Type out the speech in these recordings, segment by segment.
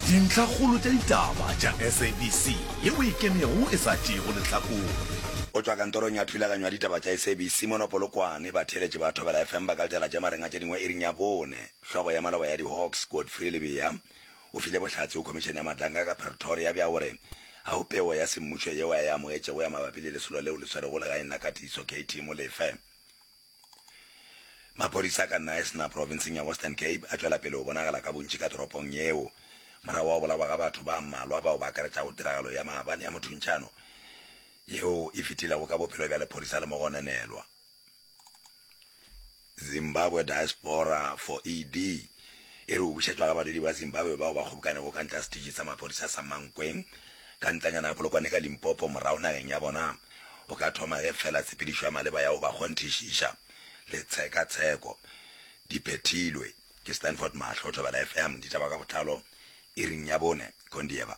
Dintlhakgolo tša ditaba tša SABC yeo e ikemego e sa tšeego lehlakore. Go tšwa kantorong ya thulaganyo ya ditaba tša SABC mono Polokwane, batheeletši ba Thobela FM ba ka letela tša mareng a tše dingwe iring ya bone. Hlogo ya maloba ya di-Hawks, Godfrey Lebeya, o file bohlatse go Khomišene ya Matlanka ka Pretoria bja gore ga go pego ya semmušo yeo a e amogetšego ya mabapi le lesolo leo le swerego legaeng la Katiso KT Molefe. Maphodisa ka Knysna profenseng ya Western Cape a tšwela pele go bonagala ka bontši ka toropong yeo morago ga go bolawa ga batho ba mmalwa bao ba akaretšago tiragalo ya maabane ya mothuntšhano yeo e fetilego ka bophelo bja lephodisa le mogononelwa. Zimbabwe Diaspora for ED e re go bušetšwa ga badudi ba Zimbabwe bao ba kgobokanego ka ntle ga setiši sa maphodisa sa Mankweng ka ntlanyana ya Polokwane ka Limpopo morago nageng ya bona go ka thoma ge fela tshepedišo ya maleba ya go ba kgonthišiša le tshekatsheko di phethilwe. Ke Stanford Mahlo, Thobela FM, ditaba ka botlalo iring ya bone, Kondieva.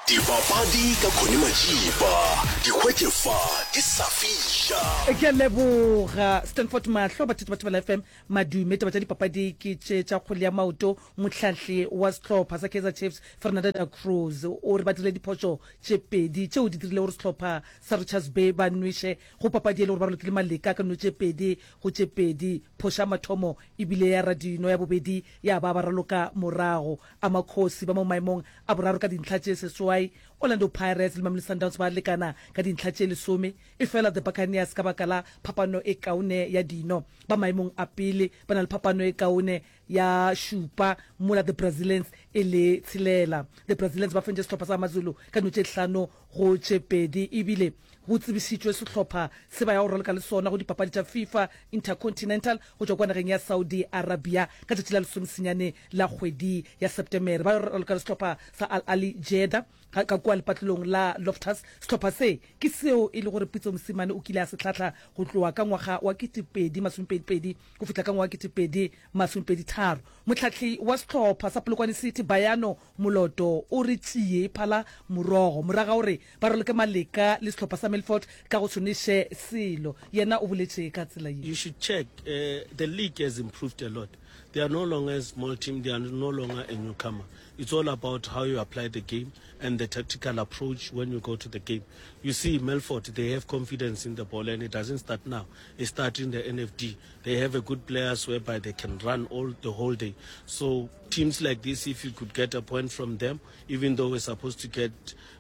Dipapadi ka Connie Majiba, di hwetše fa di sa fiša. Ke a leboga Stanford Mahlo, bathetši ba Thobela FM. Madume, taba tša dipapadi ke tše tša kgwele ya maoto. Mohlahli wa sehlopha sa Kaizer Chiefs, Fernando da Cruz, o re ba dirile diphošo tše pedi tšeo di dirilego gore sehlopha sa Richards Bay ba nweše go papadi e le gore ba ralokile maleka ka no tše pedi go tše pedi. Phošo ya mathomo e bile ya Radino, ya bobedi ya ba ba raloka morago. Amakhosi ba mo maemong a boraro ka dintlha tše seswai, Orlando Pirates le Mamelodi Sundowns ba lekana ka dintlha tše lesome, efela The Buccaneers ka baka la phapano e kaone ya dino ba maemong a pele ba na le phapano e kaone ya šupa mola The Brazilians e le tshelela. The Brazilians ba fentše sehlopha sa AmaZulu ka dino tše hlano go tše pedi ebile go tsebišitšwe sehlopha se ba ya go raloka le sona go dipapadi tša FIFA Intercontinental go tšwa kua nageng ya Saudi Arabia ka tšatši la lesomesenyane la kgwedi ya Septemere. Ba yo raloka le sehlopha sa Al Ahly Jeddah ka kua lepatlelong la Loftus. Sehlopha se ke seo e le gore Pitso Mosimane o kile a se hlahla go tloga ka ngwaga wa 2022 go fihla ka ngwaga 2023. Mohlahli wa sehlopha sa Polokwane City, Bayano Moloto o re tšie e phala morogo morago ga gore ba raloke maleka le sehlopha sa Milford ka go se nweše selo. Yena o boletše ka tsela ye. You should check, the league has improved a lot. They are no longer a small team, they are no longer a newcomer. It's all about how you apply the game and the tactical approach when you go to the game. You see, Milford, they have confidence in the ball and it doesn't start now. It starts in the NFD. They have a good players whereby they can run all the whole day. So teams like this, if you could get a point from them, even though we're supposed to get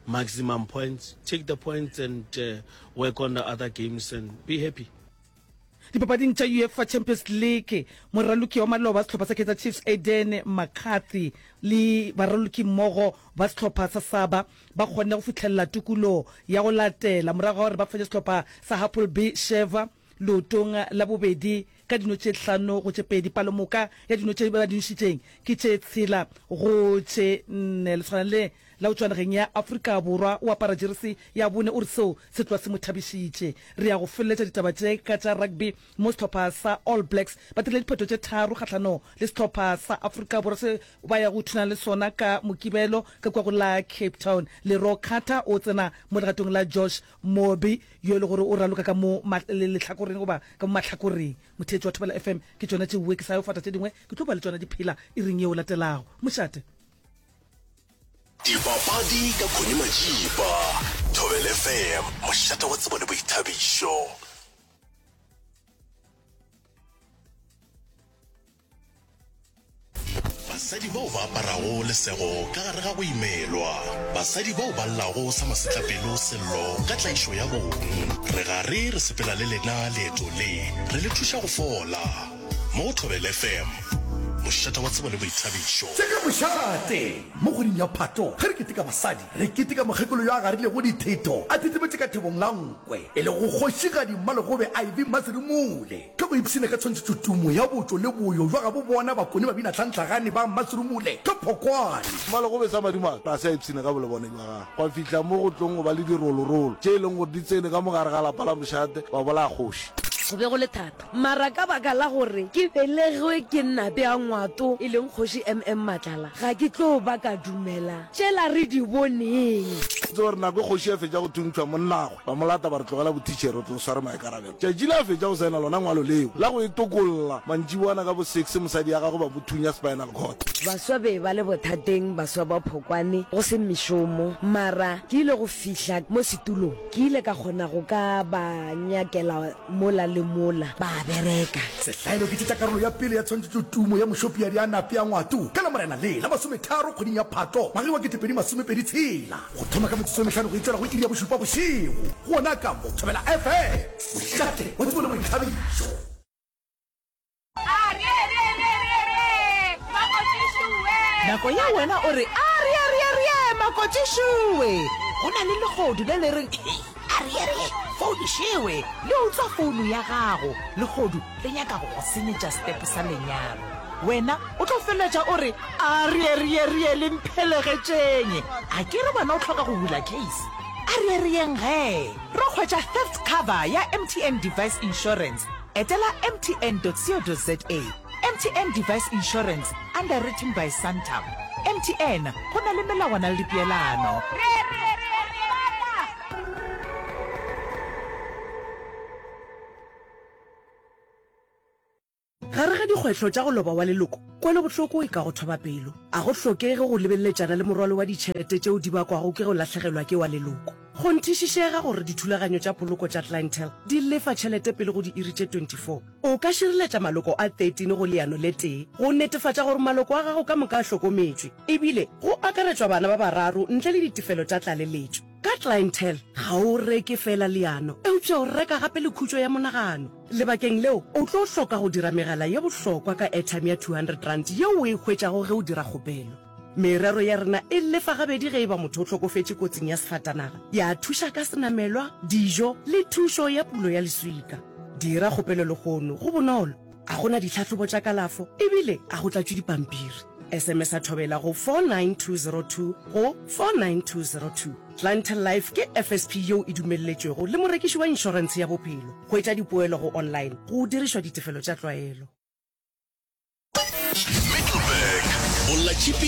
maximum points, take the points and uh, work on the other games and be happy. Dipapading tša UEFA Champions League, moraloki wa maloba sehlopha sa Kaizer Chiefs Aden McCarthy le baralokimmogo ba sehlopha sa Saba ba kgonne go fihlelela tokolo ya go latela morago ga gore ba fenye sehlopha sa Hapoel Beersheva leotong la bobedi ka dino tše hlano go tše pedi. Palomoka ya dino tše ba di nošitšeng ke tše tshela go tše nne. Lesogana le la go tšwa nageng ya Afrika Borwa o apara jeresi ya bone o re seo se tloga se mo thabišitše. Re ya go feleletša ditaba tše ka tša rugby mo sehlopha sa All Blacks ba dirile diphetho tše tharo kgahlano le sehlopha sa Afrika Borwa se ba ya go thunana le sona ka Mokibelo ka kua go la Cape Town. Leroy Carter o tsena mo legatong la Josh Mobi yo e le gore o raloka ka mo lehlakoreng goba ka mo mahlakoreng. Motheetši wa Thobela FM, ke tšona tšeoe ke sa yo fata tše dingwe, ke tlo ba le tšona di phela iring yeo latelago. Mošate. Dipapadi ka Connie Majiba, Thobela FM, mošate wa tsebo le boithabišo. Basadi bao ba aparago lesego ka gare ga go imelwa. Basadi bao ba llago sa masetlapelo sello ka tlaišo ya bong. Re gare re sepela le lena leeto le, re le thuša go fola. Mo go Thobela FM, mošate wa tsebo le boithabišo. Tše ka mošate! Mo kgweding ya Phato, ge re keteka basadi, re keteka mokgekolo yo a garilego dithetho a thethemetše ka thebong la nkwe, e lego Kgošigadi Mmalegobe Ivy Mmaserumule. Ke go ipshina ka tshwantšhetšotumo ya botšo le boyo bja gabo bona Bakone ba bina tlhantlhagane ba Mmaserumule ka Phokwane. Mmalegobe sa madimabe ga se a ipshina ka bolebone bja gagwe gwa fihla mo go tlong go ba le dirolorolo tše e leng gore di tsene ka mo gare ga lapa la mošate ba bolaya kgoši. Go be go le thata, mara ka baka la gore ke belegwe ke Nape a Ngwato, e leng Kgoši MM Matlala, ga ke tlo ba ka dumela tšela re di boneng. Tseba gore nako e kgoši a fetša go thuntšhwa monnagwe, ba mo lata ba re tlogela bothitšhere o tle o sware maikarabelo. Tšatši le a fetša go saena lona ngwalo leo la go e tokolla, mantšiboana ka bo six mosadi ya gagwe ba mo thunya spinal cord. Baswa be ba le bothateng, baswa ba Phokwane, go se mešomo, mara ke ile go fihla mo setulong. Ke ile ka kgona go ka ba nyakela mola le mola, ba bereka. Sehlaelo ke tše tša karolo ya pele ya tshwantšhetšotumo ya Mošopiadi a Nape a Ngwato ka Lamorena le la masometharo kgweding ya Phato ngwageng wa 2026 go thoma ka metsotso e mehlano go itšwela go iri ya bošupa bošego gona ka mo Thobela FM, mošate wa tsebo le boithabišo. Nako ye wena o re, Arieerieerie, makotšišoe! Go na le lehodu le le reng, Arieerie, founišewe! Le utswa founu ya gago. Lehodu le nyaka go go senyetša setepe sa lenyalo. Wena o tlo feleletša o re, Arieerieerie, le mphelegetšeng! A ke re wena o hloka go bula case? Arierieng gee! Ro hwetša theft cover ya MTN Device Insurance. Etela mtn.co.za. MTN Device Insurance, underwritten by Santam. MTN, go na le melawana le dipeelano. Gare ga dikgwehlo tša go loba wa leloko, kwelobohloko e ka go thoba pelo. A go hlokege go lebeleletšana le morwalo wa ditšhelete tšeo di bakwago ke go lahlegelwa ke wa leloko. Kgonthišišega gore dithulaganyo tša poloko tša Clientele di lefa tšhelete pele go diiri tše 24. O ka šireletša maloko a 13 go leano le tee go netefatša gore maloko a gago ka moka a hlokometšwe, ebile go akaretšwa bana ba bararo ntle le ditefelo tša tlaleletšo. Ka Clientele, ga o reke feela leano, eupša o reka gape le khutšo ya monagano. Lebakeng leo, o tlo hloka go dira megala ye bohlokwa ka airtime ya R200 yeo o e hwetšago ge o dira kgopelo. Merero ya rena e lefa gabedi ge e ba motho o hlokofetše kotsing ya sefatanaga, ya thuša ka senamelwa, dijo le thušo ya pulo ya leswika. Dira kgopelo lehono, go bonolo, ga go na ditlhahlobo tša kalafo ebile ga go tlatšwe dipampiri. SMS-a Thobela go 49202 go 49202. Clientele Life ke FSP yeo e dumelletšwego le morekiši wa inšorentshe ya bophelo. Hwetša dipoelo go online go dirišwa ditefelo tša tlwaelo. Middelburg, Bolla Tšhipi.